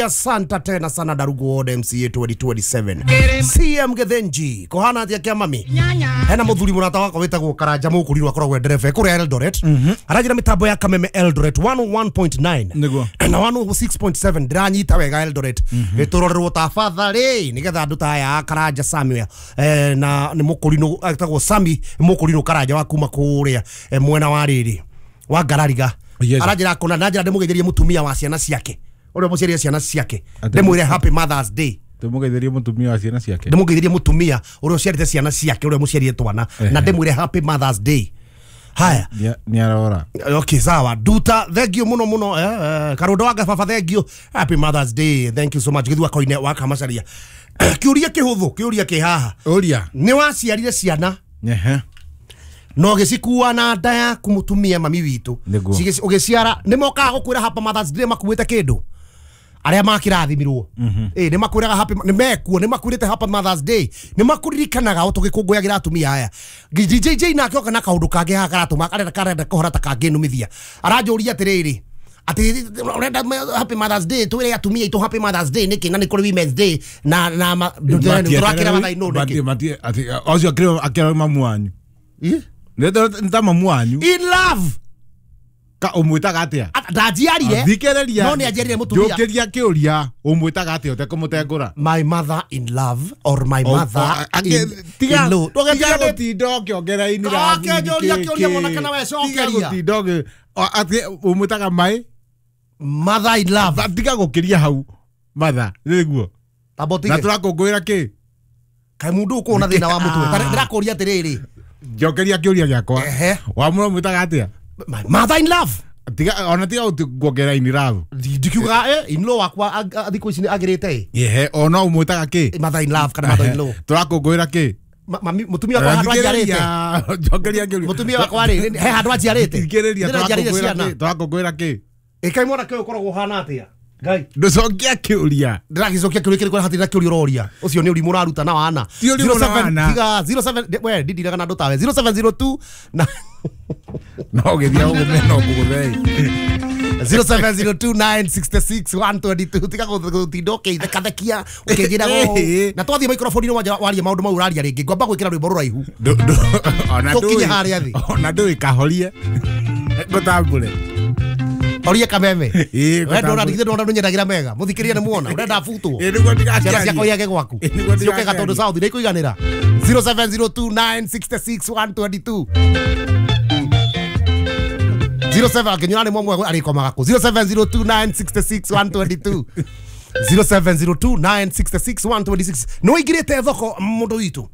Mengi asante tena sana Darugu Ward MCA 2027. CM Gethenji kohana atia kia mami. Hena muthuri murata wakwa witagwo Karanja Mukurirwo akoragwo e ndereba kuria Eldoret. Aranjira mitambo ya Kameme Eldoret 101.9 Nĩguo. na 106.7 ndiranyita wega Eldoret. Turorerwo tafadhali nigetha andu ta aya a Karanja Samuel na ni mukurino etagwo Sami Mukurino Karanja wa kuma kuria mwena wa riri wa Ngarariga. Yes. Aranjira kona na njira ndimugetherie mutumia wa ciana ciake uria muciarie ciana ciake Ate- ndimwire happy Mother's Day. Tumugetherie mutumia wa ciana ciake. Ndimugetherie mutumia uria uciarite ciana ciake uria muciarie twana na ndimwire happy Mother's Day. Haya. Nĩ arora. Okay, sawa. Duta, thank you muno muno. Karundo wa baba, thank you. Happy Mother's Day. Thank you so much. Githua koine wa kamacaria. Kiuria kihuthu, kiuria kihaha. Ũria. Ni waciarire ciana Ehe. no gĩcikua na nda yaku mũtumia mami witũ. Nĩguo. Ũgĩciara nĩ mokaga gũkwĩra happy Mother's Day makuĩte kĩndũ arĩa makĩrathimirwo. Ĩ nĩ makwĩraga happy nĩ mekuo nĩ makwĩrĩte happy Mother's Day nĩ makũririkanaga o tũgĩkũngũyagĩra atumia aya. DJJ nake oka na kaũndũ kangĩ haha karatũma karenda karenda kũhora ta kangĩnumithia. Aranjũria atĩrĩrĩ atĩ ũrenda happy Mother's Day twĩre atumia aitũ happy Mother's Day nĩkĩ na nĩ kũrĩ Women's Day na na tũrakĩra mathaa-inĩ nĩkĩ? Matie ati ocio akĩrĩ akĩrĩ mamu wanyu. Ĩ? Nĩ ta mamu wanyu. In love. Ka ũmwĩtaga atĩa? Ndanjiarire. Thikĩrĩria. No nĩ anjiarire mũtumia. Njũkĩria kĩũria ũmwĩtaga atĩa ũtekũmũtengũra? My mother in love or my mother in, Tiga in law. tiga gũtinda ũkĩongera in love. Oke, njũria kĩũria mwanake na we cokeria. Tiga gũtinda ũgĩ atĩ ũmwĩtaga my Mother in love. Tiga gũkĩria hau. Mother nĩguo. Tamba Na ũtige. tũrakũngũĩra kĩ? Kaĩ mũndũ ũkorwo na thĩna wa mũtwe. Ta ndĩrakũria atĩrĩrĩ. Njokeria kĩũria gĩakwa. Ehe. Wamũra ũmwĩtaga atĩa? My mother in love. Tiga ona tiga kuongerera in love. Ndikiuga in law wakwa thikũ ici nĩ agĩrĩte ĩ. Ehe, ona ũmwĩtaga kĩ? Mother in love kana mother in law. Tũrakũngũĩra kĩ? Mami mũtumia wakwa handũ anjiarĩte. Njokeria kĩũria. Mũtumia wakwa rĩ he handũ anjiarĩte. Thikĩrĩria Ndĩranjiarĩire tũrakũngũĩra ciana. kĩ? Tũrakũngũĩra kĩ? Ĩkai mwanake ũyũ ũkoragwo ũhana atĩa? Ngai. Ndũcokia kĩũria. Ndĩragĩcokia kĩũria kĩrĩkũ hatirĩ na kĩũria ũroria. Ũcio nĩ ũrimũ ũraruta na wana. Ti ũrimũ na wana. Tiga 07 we ndindiraga na andũ tawe 0702 na No ũgĩthiĩ ũgũme no ngũgũthei. 0702966122 tiga gũtinda ũkĩthekathekia ũkĩnjĩra ũũ. Na twathiĩ microphone-inĩ wanja waria maũndũ mau ũraria rĩngĩ ngwamba gwĩkĩra rwĩmbo rũraihu. Ona Tũkinye ndũĩ. harĩa thĩ. Ona ndũĩ kahorie. Ngũtambũre. Horia kameme. Ĩĩ, We ndona ngũtambũre. ndigithĩ ndona ndũnyendagĩra mega. Mũthikĩrĩria nĩ muona ũrenda butwo. Ĩĩ, nĩguo Ciana ciakwa ndigakiaria. iage gwaku. Ĩĩ, nĩguo Ciũke Gatũndũ ndigakiaria. South nĩ ikũiganĩra. 0702966122. 07 akinyura nĩ mwamwe arĩkomaga kũ 0702966122 0702966126 nĩ ũingĩrĩte thoko mũndũ witũ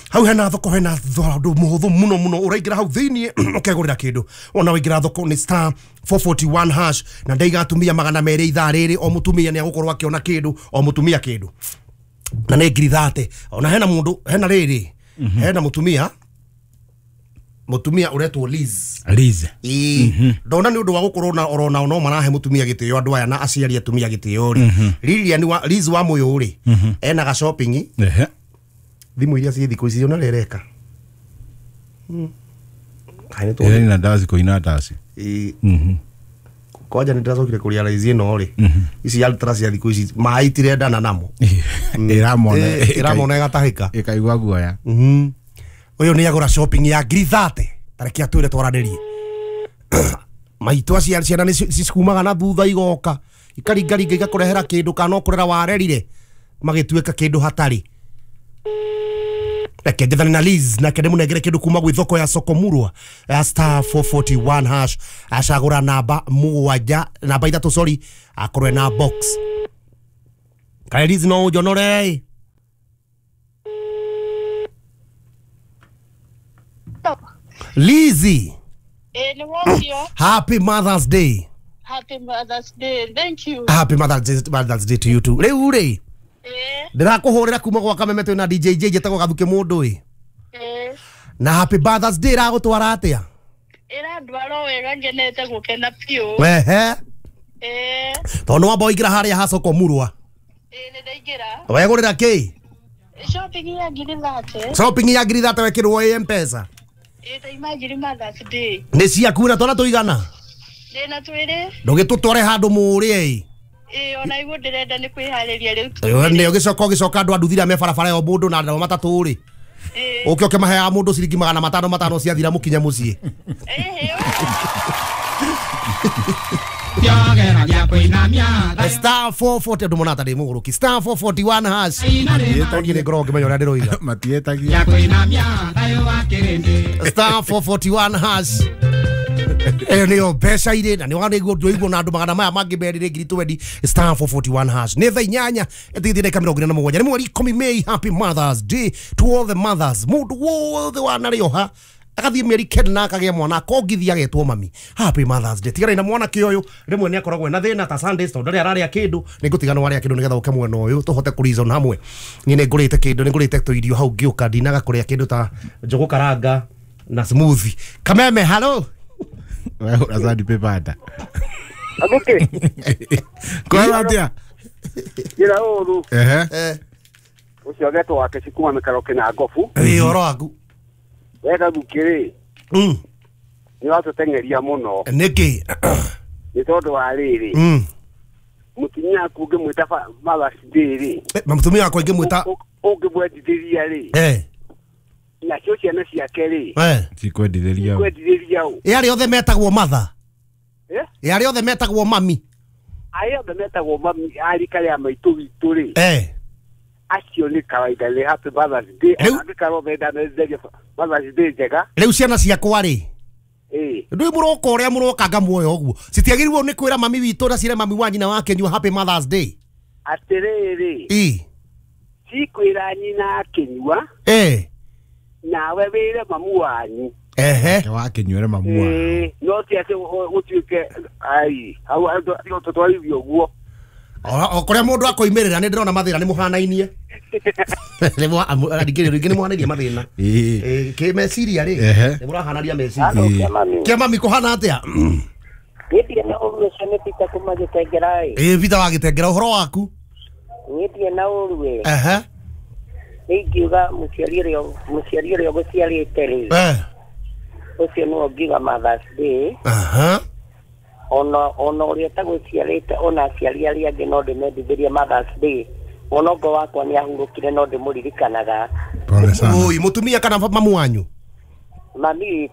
hau hena thoko hena ũndũ mũhũthũ mũno mũno ũraingĩra hau thĩiniĩ ũkegũrĩra kĩndũ ona waingĩra thoko nĩ star 441 hash na ndaiga atumia 200 ithaa rĩrĩ o mũtumia nĩ agũkorwo akĩona kĩndũ o mũtumia kĩndũ na nĩ ngiri thate ona hena mũndũ hena rĩrĩ hena mũtumia ũretwo Liz. Liz. Ĩĩ ndona nĩ ũndũ wa gũkorwo na orona no marahe mũtumia gĩtĩo andũ aya na aciari atumia gĩtĩo rĩ Lilian wa Liz wa Mũyũ rĩ ena ga shopping Ehe. thimũ iria ciĩ thikũ ici ona rĩreka. Kaĩ nĩ Ĩrĩ na ndaci kũina ndaci. Ĩĩ. Kwanja nĩ ndĩracokire kũrealize ĩno rĩ ici ultra cia thikũ ici maĩ itirendana namo. Ĩramona. Ĩramona ĩgatahĩka. Ĩkaigua guoya. Ũyũ nĩ agũra shopping ya ngiri thate tareke atwĩre twaranĩrie. Maitũ aciari ciana nĩ cikumaga na thutha igoka ikaringaringa igakũrehera kĩndũ kana no kũrera warerire magĩtuĩka kĩndũ hatarĩ. Reke njethane na Liz nake ndĩmũnengere kĩndũ kuma gwĩ thoko ya Soko Murwa ya star 441 hash acagũra namba mũgwanja namba ithatũ sorry akorwe na box. Kaĩ Liz no ũnjonore? Lizzy. Nĩ wokio. Happy Mother's Day. Happy Mother's Day. Thank you. Happy Mother's Day to you too. Rĩu rĩ ndĩrakũhũrĩra kuma gwa Kameme twĩ na DJ J njĩtagwo Gathuke mũndũ ĩ. Na Happy Mother's Day ĩragũtwara atĩa? Ĩrandwara wega ngenete gũkena biũ. Ehe. Tondũ nĩ wamba waingĩra harĩa ha Soko Murwa. Ĩĩ nĩ ndaingĩra. Wegũrĩra kĩ? Shopping ya ngiri thate. Shopping ya ngiri thate wekĩrwo ĩ M-Pesa. Ĩĩ ndaima ngiri Mother's Day. Nĩ ciaku na twana tũigana? Ndĩna twĩrĩ. Ndũgĩtũtware handũ mũrĩe ĩ. Ĩĩ ona iguo ndĩrenda nĩ kwĩharĩria rĩu. Nĩ ũgĩcoka andũ a nduthira me barabara ya mũndũ na andũ matatũ rĩ. Ũke ũkĩmaheaga mũndũ ciringi 500 500 ciathira mũkinye mũciĩ. Star 440 andũ monata ndĩ mũgũrũki. Star 441 hash. Niĩ nĩ ngoragwo ngĩmenya ũrĩa ndĩroiga. Matietagia. Star 441 hash. Ĩyo nĩyo mbeca irĩ na nĩguo ndũiguo na andũ magana maya mangĩ merĩrĩ ngiri 20. Star 441 hash. Nĩ thaa 8 ĩtigithie ndagĩka 47. Nĩ mweri 10 May. Happy Mother's Day to all the mothers. Mũndũ wothe wanarĩoha agathiĩ mĩeri 9 na akagĩa mwana akongithia agetwo mami. Happy Mother's Day. Tiganai na mwanake ũyũ rĩmwe nĩ akoragwo ena thĩna ta Sundays tondũ ndarĩ ararĩa kĩndũ. Nĩ ngũtigana warĩa kĩndũ nĩgetha ũke mwena ũyũ tũhote kũ reason hamwe. Niĩ nĩ ngũrĩte kĩndũ, nĩ ngũrĩte tũirio hau ngĩũka ndinaga kũrĩa kĩndũ ta njũgũ karanga na smoothie. Kameme, hello. Wehũra sandi paper nda. Aguke. Kwara atia? Njĩra ũru. Ehe. Ũcio agetwo wake cikuma mĩkaro kĩna ngobu. Ĩĩ ũhoro waku. Wega gukĩrĩ. Nĩ watũteng'eria mũno. Nĩkĩ? Nĩ tondũ wa rĩrĩ. Mũtumia waku ũngĩmwĩta Mother's Day rĩ. Mũtumia wakwa ingĩmwĩta ũngĩmwendithĩria rĩ. Nacio ciana ciake rĩ. Cikwendithĩria. Cikwendithĩria ũ. Ĩ arĩa othe metagwo mother. Ĩ arĩa othe metagwo mami. Arĩa othe metagwo mami a rika rĩa maitũ witũ rĩ. Acio nĩ kawaida nĩ Happy Mother's Day. Angĩkorwo menda menderie Mother's Day njega. Rĩu ciana ciakwa rĩ. Ndũĩ mũroka ũrĩa mũrokanga muoyo ũguo. Citiagĩrĩirwo nĩ kwĩra mami witũ na ciĩre mami wa nyina wake nyua Happy Mother's Day. Atĩrĩrĩ. Cikwĩra nyina akĩnyua. Nawe wĩre mamu wanyu. Ehe. Wakĩnyuĩre mamu wanyu. No ti atĩ gũtuĩke ai hau andũ tũtwarithio ũguo. O kũrĩa mũndũ akoimĩrĩra nĩ ndĩrona mathĩna nĩ mũhanainie. Rĩngĩ nĩ mũhanairie mathĩna. Kĩ meciria rĩ nĩ mũrahanaria meciria. Kĩa mami kũhana atĩa? Niĩ ndirĩ na ũru ũcio nĩ Peter kuma Gĩtengera ĩ. Ĩĩ Peter wa Gĩtengera ũhoro waku? Niĩ ndirĩ na ũru ĩ. Ehe. Nĩ ingiuga mũciari ũrĩa ũgũciarĩte rĩ. Ũcio nĩwe ũngiuga Mother's Day. Ona ũrĩa ũtagũciarĩte ona aciari arĩa angĩ no ndĩmendithĩrie Mother's Day. Ona ngo wakwa nĩ ahurũkire no ndĩmũririkanaga. Pole sana. Oi, mũtumia kana mamu wanyu? Mami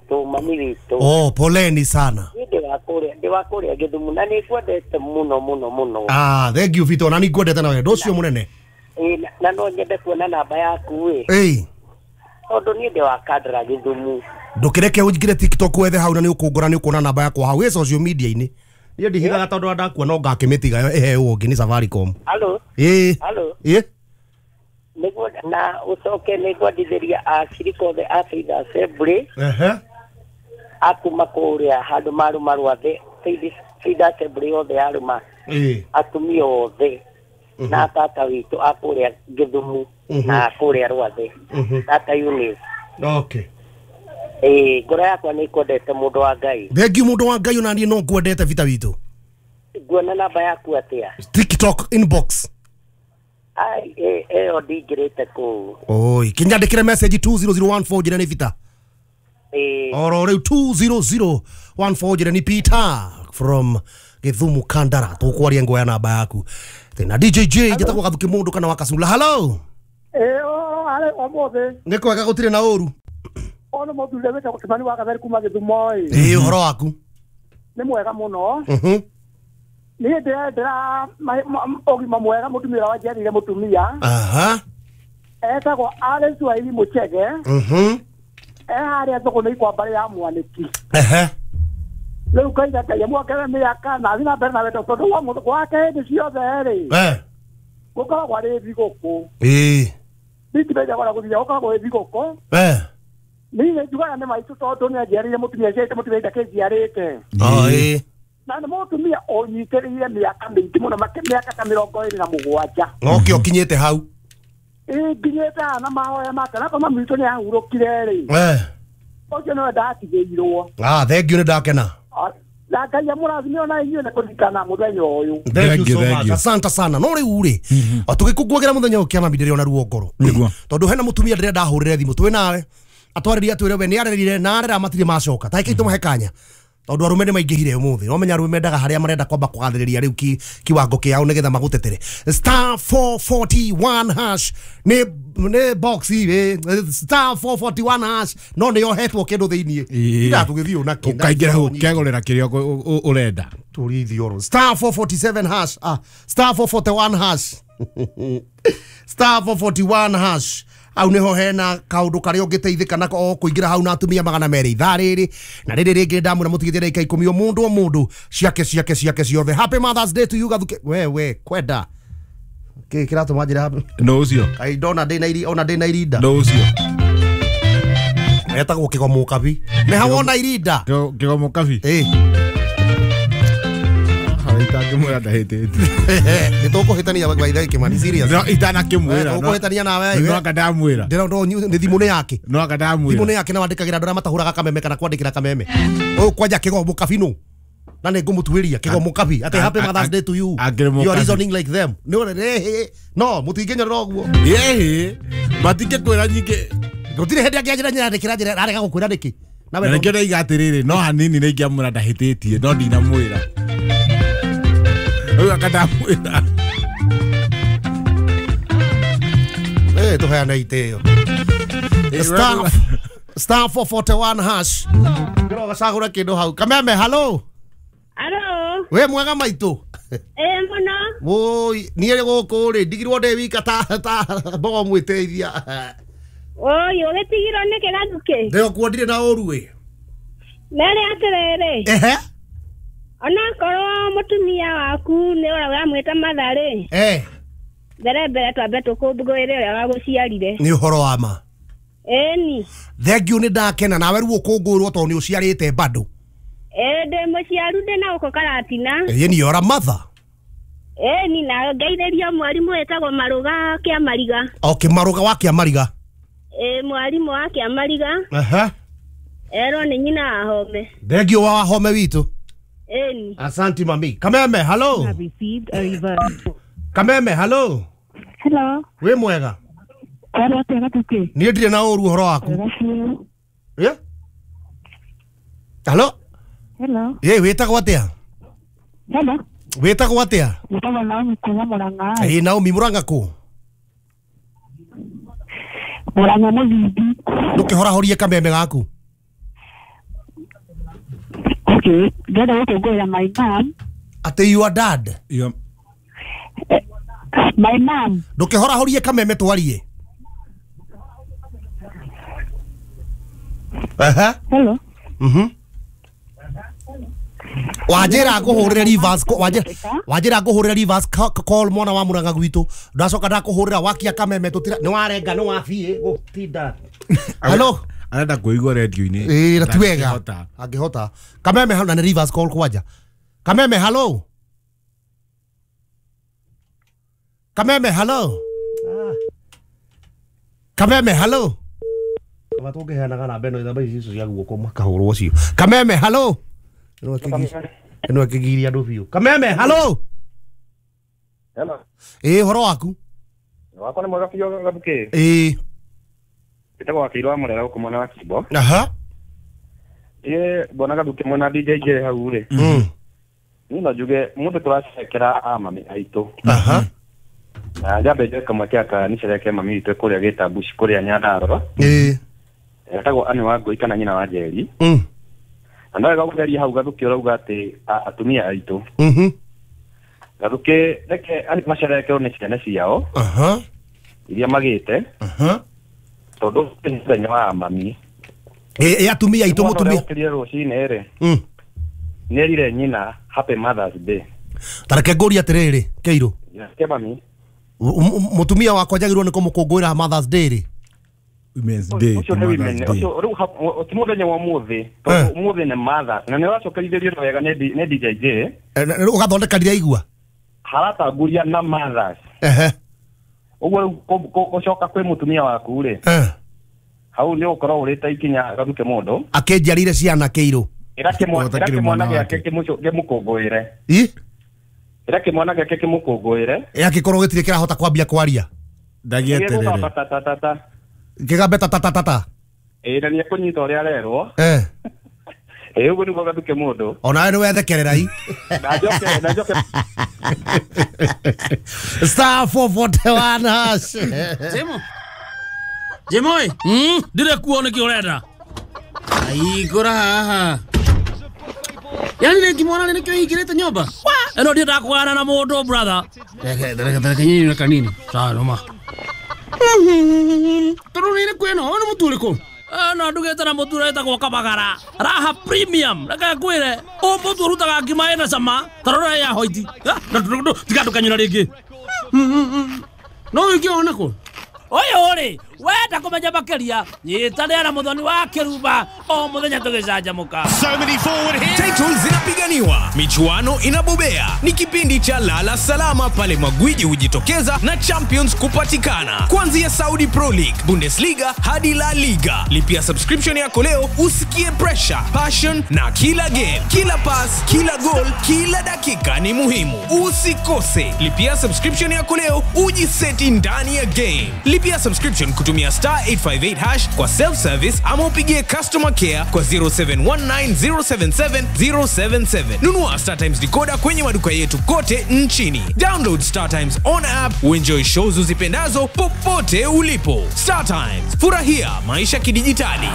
witũ. Oh, poleni sana. Niĩ ndĩ wa kũrĩa Gĩthumu na nĩ ngwendete mũno mũno mũno. Ah, thank you Vito, na nĩ ngwendete na wendo ũcio mũnene. Na no nyende kuona namba yaku ĩ. Tondũ niĩ ndĩ wa Kandara Gĩthumu. Ndũkĩreke ũingĩre TikTok wethe hau na nĩ ũkũngora nĩ ũkuona namba yakwa hau ĩ social media-inĩ. Niĩ ndihithaga tondũ ndakua no ngakĩmĩtiga ĩheo ũngĩ nĩ Safaricom. Hello. Hello. Nĩguo na ũcoke nĩ ngwendithĩria acirika othe a Faith Assembly. Akuma kũrĩa handũ marũma rwathe Faith Assembly othe arũma. Atumia othe na tata witũ a kũrĩa Gĩthumu na kũrĩa Rwathe. Tata Eunice. Okay. Ngoro yakwa nĩ ĩkwendete mũndũ wa Ngai. Thank you mũndũ wa Ngai ona niĩ no ngwendete Vita witũ. Nguona namba yaku atĩa? TikTok inbox. Ai ĩyo ndingĩrĩte kũu. Oi, kinyandĩkĩre message 20014 njĩre nĩ Vita. Oro rĩu 20014 njĩre nĩ Peter from Gĩthumu Kandara. Tũkwaria ngoya namba yaku. Tena DJJ njĩtagwo Gathuki mũndũ kana wa Kasula. Hello. Arĩ ũmũthĩ. Nĩ kwega gũtirĩ na ũru. Ono mũthuri wĩtagwo Kĩmani wa Gatheri kuma Gĩthumo ĩ. Ĩĩ ũhoro waku? Nĩ mwega mũno. Niĩ ndĩrendera ũgima mwega mũtumia ũrĩa wanjiarĩire mũtumia. Etagwo Alice Wairi Mũchege. E harĩa thũgũnĩ kwa mbarĩ ya Mwanĩki. Rĩu ngaiga Ngai amwongerere mĩaka na athiĩ na mbere na wendo tondũ gwake hĩndĩ ciothe rĩ. Gũkoragwo arĩ thigũkũ. Ndingĩmenya gũthiĩ gũkoragwo ĩ thigũkũ. Niĩ nĩ njugaga nĩ maitũ tondũ nĩ anjiarĩire mũtumia aciarĩte mũtumia ndakĩnjiarĩte. Na nĩ mũtumia ũnyitĩrĩire mĩaka mĩingĩ mũno mĩaka ta 27. Nokĩo ũkinyĩte hau. Ĩĩ nginyĩte haha na mahoya make na mami witũ nĩ ahurũkire rĩ. Ũcio nĩwe ndatigĩirwo. Ah, thank you nĩ ndakena. Na Ngai amũrathime ona inyuĩ nĩ kũririkana mũthenya ũyũ. Thank you so much. Asante sana. No rĩu rĩ, o tũgĩkũngũagĩra mũthenya ũyũ kĩa mami ndĩrĩ ona ruo ngoro. Tondũ hena mũtumia ndĩrenda ndahũrĩre thimũ twĩ nawe. Atwarĩria atwĩre we nĩ arerire na arera matirĩ macoka. Ta ĩkĩ tũmahe kanya. Tondu arume nĩ maingĩhire ũmũthĩ. No menya arume mendaga harĩa marenda kwamba kũgathĩrĩria rĩu kiwango kĩao nĩgetha magũtetere. Star 441 hash nĩ box star 441 hash no nĩ yohetwo kĩndũ thĩiniĩ. Ira tũgĩthiĩ na kĩndũ. Ũkaingĩra hau ũkegũrĩra kĩrĩa ũrenda. Tũrithio. Star 447 hash. Star 441 hash. Star 441 hash. Au niho hena kaundu karia ũngĩteithĩka nako o kũingĩra hau na atumia 200 ithaa rĩrĩ na rĩrĩ rĩngĩ ndamwĩra mũtigĩtie ndagĩka 10 o mũndũ o mũndũ ciake ciake ciake ciothe. Happy Mother's Day to you Gathuke. We kwenda kĩ kĩratũma njĩra happy no ũcio ai ndona ndĩ na iri ona ndĩ na irinda no ũcio etagwo Kĩgomo Kabi nĩ ha wona irinda Kĩgomo Kabi ĩ itangĩmwĩra ndahĩtĩtie nĩ tũkũhĩtania by the way Kĩmani serious no itanakĩmwĩra tũkũhĩtania nawe no anga ndamwĩra ndĩra ndo nĩ thimũ nĩ yake no anga ndamwĩra thimũ nĩ yake na wandĩkagĩra andũ arĩa matahũraga kameme kana kwandĩkĩra kameme ũyũ kwanja Kĩgomo Kabi nũ na nĩ ngũmũtuĩria Kĩgomo Kabi atĩ happy Mother's Day to you you are reasoning like them nĩ no mũtingĩnyorera ũguo ĩhĩ matingĩkwĩra nyingĩ gũtirĩ hĩndĩ angĩanjĩra nyandĩkĩra njĩra arega gũkwĩra nĩkĩ na nĩkĩo ndaiga atĩrĩrĩ no hanini nĩ ingĩamwĩra ndahĩtĩtie no ndinamwĩra rĩu anga ndamwĩra tũheane itĩo star 441 hash ngĩro gacagũra kĩndũ hau. Kameme hello. Hello. We mwega maitũ. Mũno. Woi niĩ gũkũ rĩ ndigirwo ndĩ wika ta mbogo mwĩteithia. Oi ũgĩtigirwo nĩkĩ Gathuke? Ndĩrokuo ndirĩ na ũru ĩ. Mere atĩrĩrĩ. Ehe. Onakorwo mũtumia waku nĩ ũrĩa ũramwĩta mother rĩ. Mbere mbere twambe tũkũngũĩre ũrĩa wagũciarire. Nĩ ũhoro wa ma. Ĩni. Thengiũ nĩ ndakena nawe rĩu ũkũngũĩrwo tondũ nĩ ũciarĩte bado. Ndĩ mũciaru ndĩ na gũkũ Karatina. Ĩni you are a mother. Ĩni na ngeithĩrio mwarimũ wĩtagwo Marũga Kĩamariga. Okay, Marũga wa Kĩamariga. Mwarimũ wa Kĩamariga. Aha. Erwo nĩ nyina wa Home. Thengiũ wa Home witũ. Eni. Asante mami. Kameme hello. Kameme hello. Hello. We mwega. Hello atĩa Gathuke? Niĩ ndirĩ na ũru ũhoro waku. Yeah? Hello. Hello. Ye wĩtagwo atĩa? Hello. Wĩtagwo atĩa? Wĩtagwo Naomi kuma Murang'a. Ĩ Naomi Murang'a kũ? Murang'a Mũthingi. Ndũkĩhorahorie kameme gaku. Okay, ndĩrenda gũkũngũĩra my mom. Atĩ your dad? My mom. Ndũkĩhorahorie kameme twarie. Aha. Hello. Mhm. Wanjĩra ngũhũrĩre reverse wanjĩra ngũhũrĩre reverse call mwana wa Murang'a gwitũ ndacoka ndakũhũrĩra wakia kameme tũtira nĩ warenga nĩ wabiĩ gũtinda. Hello. Arenda kũigua radio-inĩ. Ĩ na ti wega angĩhota. Kameme hau na nĩ reverse call kwanja. Kameme hello. Kameme hello. Kameme hello. Kaba tũngĩheanaga namba ĩno namba ici cia guoko makahũrwo cio. Kameme hello. Ĩno ĩkĩgiria andũ biũ. Kameme hello. Hello. Ĩ ũhoro waku? Wakwa nĩ mwega biũ Gathuke. Ĩ Wĩtagwo Wakĩirũ wa Mũrera gũkũ mwena wa Kimbo. Aha. Ĩ mbona Gathuke mwena DJ J hau rĩ. Niĩ no njuge mũndũ tũracerekera a mami aitũ. Aha. Na njambe njoe kamweke aka nicereke mami witũ kũrĩa Gĩtambuci kũrĩa Nyandarũa. Ĩ. Etagwo Anne wa Ngũi kana nyina wa Njeri. Na no wega gũtheria hau Gathuke ũrauga atĩ atumia aitũ. Gathuke reke macerekerwo nĩ ciana ciao. Aha. Iria magĩte. Aha. Tondũ nĩ mũthenya wa mami. Ĩ atumia aitũ mũtumia. Ũkĩrire rũcinĩ rĩ. Nĩerire nyina happy Mother's Day. Ta reke ngũrie atĩrĩrĩ Kĩirũ. Ke mami. Mũtumia wakwa njagĩrĩirwo nĩ kũmũkũngũĩra Mother's Day rĩ? Women's Day. Ũcio nĩ women. Ũcio rĩu ti mũthenya wa ũmũthĩ. Tondũ ũmũthĩ nĩ Mother. Na nĩ ũracokerithĩrio wega nĩ DJ J. Ũgathondeka ndiraigua. Haratanguria na Mothers. Ehe. Ũguo rĩu gũcoka kwĩ mũtumia waku rĩ. Hau nĩ ũgũkorwo ũrĩte ikinya Gathuke mũndũ. Akĩnjiarire ciana Kĩirũ. Ĩra kĩmwana gĩake kĩmũkũngũĩre. Ĩ? Ĩra kĩmwana gĩake kĩmũkũngũĩre. Ĩ angĩkorwo gĩtirĩ kĩrahota kwambia kwaria. Ndagĩeterere. Kĩgambe ta ta ta ta. Ĩ na nĩ ekũnyita ũrĩa arerwo. Ĩ ũguo nĩguo gathuke mũndũ. Onawe nĩ wethekerera i. Na njoke. *441 hash. Jemo. Jemo ĩ. Ndire kuo nĩkĩ ũrenda? Aigũra haha. Yani rĩngĩ mwana nĩkĩo hingĩrĩte nyũmba? Ĩno ndiendaga kũgana na mũndũ brother. Reke nyinyi na kanini. Sawa noma. Tondũ nĩ ĩrĩkũ ĩno? Ũyũ nĩ mũtu ũrĩkũ? No ndugĩte na mũtu ũrĩa wĩtagwo Kabagara. Raha Premium. Reke ngwĩre, ũyũ mũtu ũrutaga ngima ĩna cama, ta rora ya hoiti. Tiga ndũkanyũra rĩngĩ. No ũngĩona kũ? Ũyũ rĩ, wenda kũmenya makĩria, nyitanĩra na Mũthoni wa Kĩrumba o mũthenya tũgĩcanjamũka. So many forward here. Titles zinapiganiwa, michuano inabobea. Ni kipindi cha Lala Salama pale magwiji hujitokeza na champions kupatikana. Kuanzia Saudi Pro League, Bundesliga hadi La Liga. Lipia subscription yako leo usikie pressure, passion na kila game, kila pass, kila goal, kila dakika ni muhimu. Usikose. Lipia subscription yako leo ujiseti ndani ya game. Lipia subscription kutumia *858 hash kwa self-service ama upigie customer care kwa 0719077077. Nunua Star Times decoder kwenye maduka yetu kote nchini. Download Star Times on app uenjoy shows uzipendazo popote ulipo. Star Times, furahia maisha kidijitali.